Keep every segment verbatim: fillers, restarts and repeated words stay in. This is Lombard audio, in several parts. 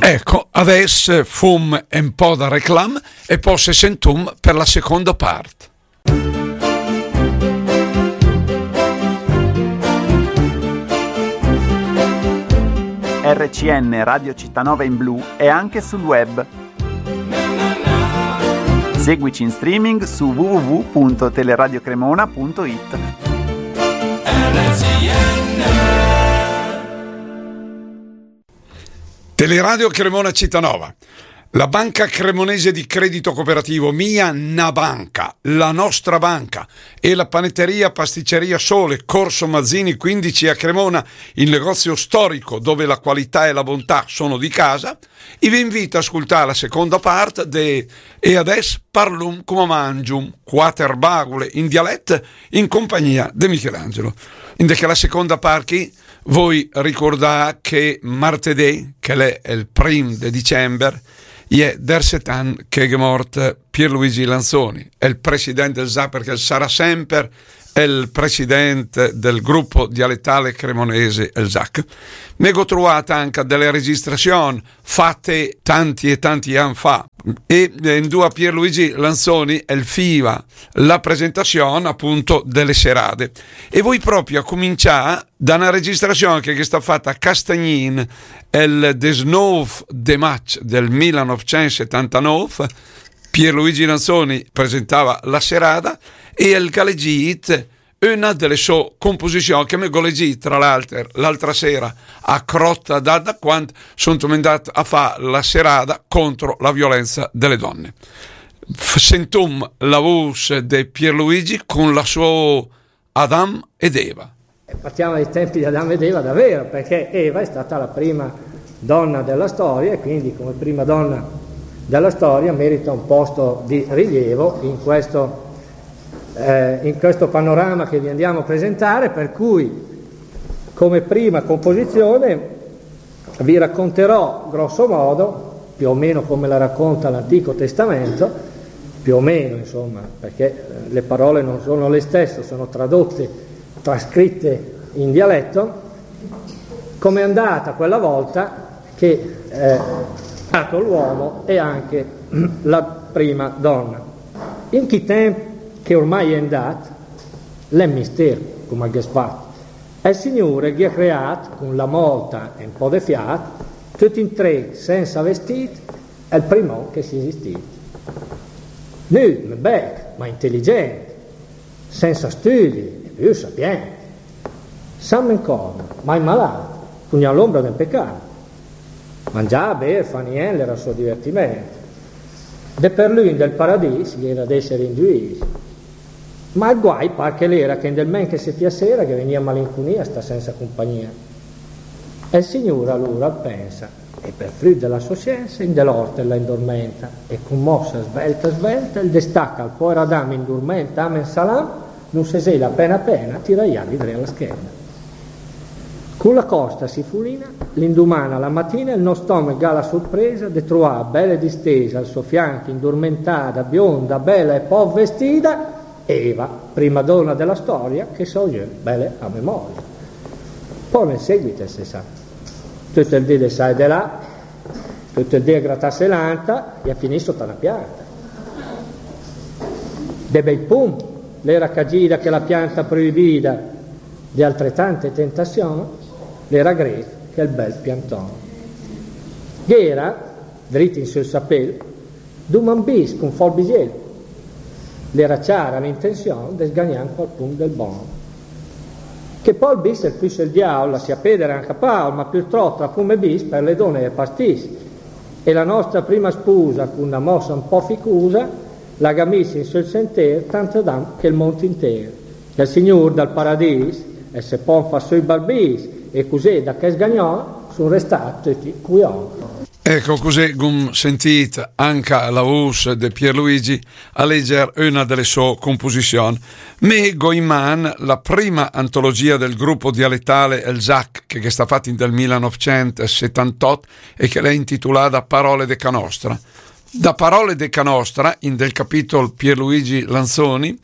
Ecco, adès fum un po' da reclam e pò se sentum per la seconda part. R C N Radio Città Nova in blu è anche sul web. Seguici in streaming su w w w punto teleradio cremona punto i t. Teleradio Cremona Città Nova. La Banca Cremonese di Credito Cooperativo, mia na banca, la nostra banca, e la panetteria pasticceria Sole, Corso Mazzini quindici a Cremona, il negozio storico dove la qualità e la bontà sono di casa, i vi invita a ascoltare la seconda parte de E adès parlum coma mangium, quater bagule in dialet in compagnia de Michelangelo. In de chela seconda part chì voi ricordà che martedì, che l'è el prim de dicember, i è derset ann che gh'è mort Pierluigi Lanzoni, el president del ZAC, perché el sarà semper el president del gruppo dialettale cremonese, el ZAC. Me go troat anca dele registrazion fate tanti e tanti ann fa, e eh, indua Pierluigi Lanzoni el fiva la presentazion appunto dele serade. E voi proprio a comincià da una registrazion che è stata fatta a Castagnin el desnov de maig del millenovecentosettantanove. Pierluigi Lanzoni presentava la serada e el galegit una dele so composizion che me go legit, tra l'alter, l'altra sera a Crotta d'Adda, quand son andat a fà la serada contro la violenza dele donne. F- sentum la voce de Pierluigi con la sua Adam ed Eva. Partiamo dai tempi di Adamo ed Eva davvero, perché Eva è stata la prima donna della storia e quindi come prima donna della storia merita un posto di rilievo in questo, eh, in questo panorama che vi andiamo a presentare, per cui come prima composizione vi racconterò grosso modo, più o meno come la racconta l'Antico Testamento, più o meno insomma, perché le parole non sono le stesse, sono tradotte, trascritte in dialetto, come è andata quella volta che eh, è nato l'uomo e anche la prima donna. In chi temp che ormai è andat, l'è mister, come che spat. El Signur el gh'ha creat, con la molta e un po' de fiat, tut in tre, senza vestit, el primò che sia esistit. Nüv, bec, ma intelligent, senza studi e più sapient. San Mencorno, mai malat, cun gnà l'ombra de pecat. Mangià, ber, fà nient, l'era so divertiment. De per lü in del paradis gh'era d'esser in giüis. Ma el guai par che l'era che in del ment che se piasera ghe vegnia malincunia a sta senza compagnia. E el Signur alura el pensa, e per früt de la so sienza, in de l'ort el la indormenta, e con mossa svelta svelta el destaca al poer Adam indurment, amen salam, nun se sela apena apena, tira i ali dre a la schena. Con la costa si fulina, l'induman a la matina, el no stomech gh'ha la surpresa de troà bele distesa al so fianch, indurmentada, bionda, bela e pò vestida, Eva, prima donna de la storia, che so jö bele a memoria. Pò nel seguit se sa, tut el dì de sà e de là, tut el dì a gratasse l'anta e a finì sota na pianta. De bei pum l'era cagida che la pianta proibida, de altretante tentazion l'era gret che el bel pianton. Gh'era, drit in sul sapel, du man bis con fò el bisiel. L'era ciara l'intenzion de sgagnà qual pum del bon. Che pò el bis el füss el diaul, la sia peder anca paul, ma purtrop tra pum e bis per le done el pastis. E la nostra prima spusa, con una mossa un po' ficusa, la ga mis in sul senter tant Adam che el mont inter. Che el Signur dal paradis, e se pon fa sö i barbis, e cusì da che sgagnon son restat tutti cuion. Ecco, così gum sentit anca la voce de Pierluigi a leger una delle sue composizioni. Me go in man la prima antologia del gruppo dialettale El Zac, che è stata fatta in del millenovecentosettantotto e che l'è intitolata Parole de Canostra. Da Parole de Canostra, in del capitolo Pierluigi Lanzoni,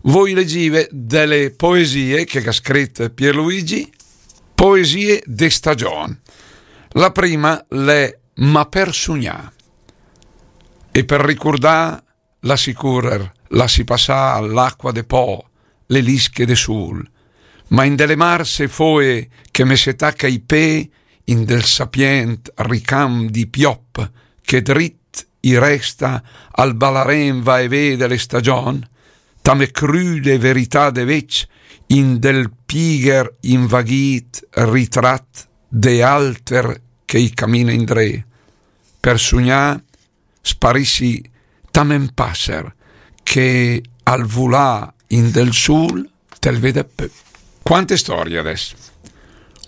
voi legive delle poesie che ha scritto Pierluigi, poesie de stagione. La prima l'è ma per sugnà. E per ricurdà, lassi córer, lassi passà l'acqua de Po, le lische de sul. Ma in de le marse foe che me se taca i pé, in del sapient ricam di piop, che drit i resta al balarén va e vé de le stagion, tame crude verità de vec, in del pigher invaghit ritrat de alter che i camina indré. Per sugnà sparissi tame 'n passer che al vulà in del sul te'l vede pö. Quante storie adess.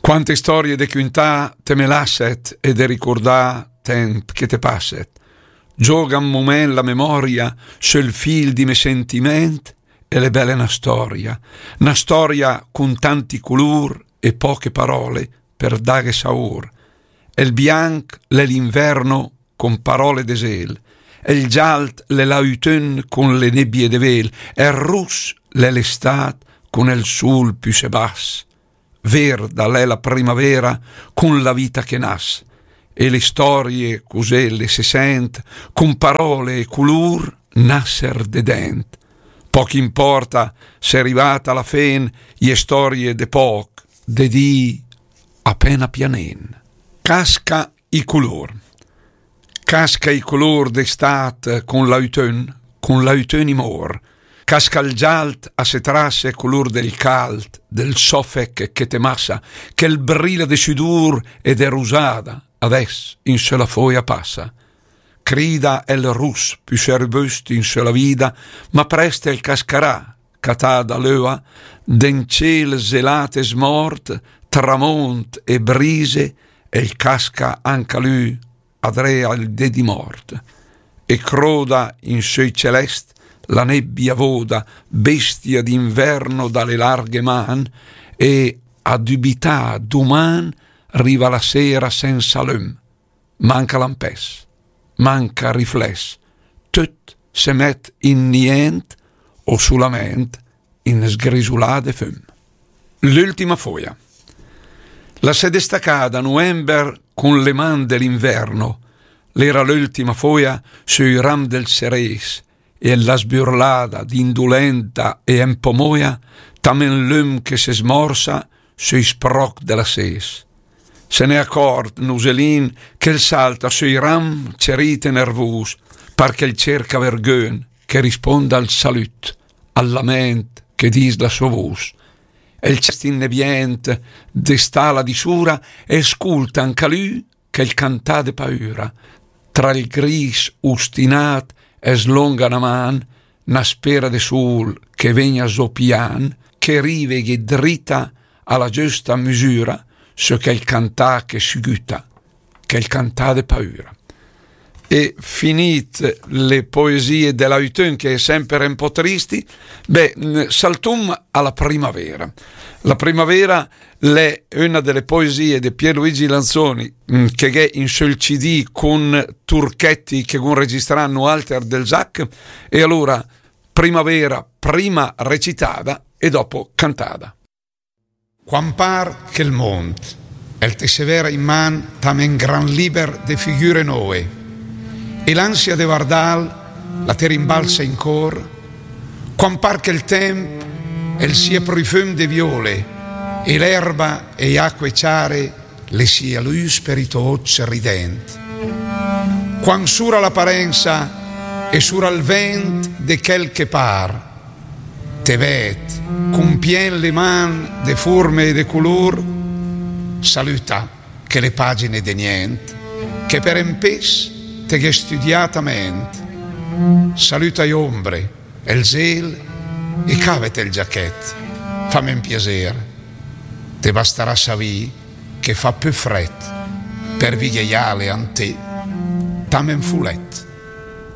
Quante storie de cuntà te me lasset e de ricurdà temp che te passet. Gioga un moment la memoria sul fil di me sentiment e l'è bele na storia. Na storia cun tanti culur e poche parole per daghe saur. El bianch l'è l'inverno cun parole de zel, el gialt l'è l'autun cun le nebbie de vel, el rus l'è l'estat cun el sul püssé bass, verda l'è la primavera cun la vita che nas, e le storie cusé le se sent cun parole e culur nasser de dent. Poch importa se rivata a la fen i è storie de poch, de dì apena pianen. Casca i culur. Casca i culur d'estat cun l'autun, cun l'autun i mor. Casca il gialt a se trasse culur del calt, del sofec che te massa, che il brilla de sudur e de rusada, adess in sö la foia passa. Crida el rus püssé rubust in sö la vida, ma prest el cascarà, catà da l'öa, den ciel zelat e smort, tramont e brise, el casca anca lü adré al dé di mort. E croda in sö i celest la nebbia voda, bestia d'inverno da le larghe man, e a dubità duman riva la sera sensa lüm. Manca lampess, manca rifless, töt se met in nient o sulament in sgrisulà de füm. L'ültima foia. La s'è destacada a nuember cun le man de l'inverno, l'era l'ültima foia sö i ram del seres, e la sburlada d'indulenta e un po' moia, tame 'n lüm che se smorsa sö i sproch de la ses. Se n'è acort Nuselin che el salta sö i ram cerit e nervus, par che el cerca vergün che risponda al salüt, al lament che dis la sua vus. El cest innebient de stala di sura e sculta anca lü che el cantà de paüra. Tra il gris ustinat e slonga na man, na spera de sul che vegna zo pian, che riveghe drita a la giusta misura, sö che el cantà che siguta, che el cantà de paüra. E finit le poesie de l'autun, che è semper un po' tristi, beh, n- saltum a la primavera. La primavera l'è una de le poesie de Pierluigi Lanzoni, mm, che gh'è in sö 'l C D cun Turchetti che gh'un registrà nualter del Zac, e alura primavera prima recitada e dopo cantada. Quan par che 'l mont el te severa in man tame 'n gran liber de figüre noe, e l'ansia de vardal la te rimbalsa in cor, quan par che 'l temp el sia prufüm de viole, e l'erba e i acque ciare le sia lüs per i to oc rident. Quan sura l'aparensa e sura 'l vent de chel che par, te vet, cun pien le man de furme e de culur, salüta chele pagine de nient, che per un pes te gh'è stüdiat a ment. Salüta i ombre, el zel, e cavet el giachet, fam un piaser. Te bastarà savì che fa pü fret, per vighe i ale an te, tame un fulet.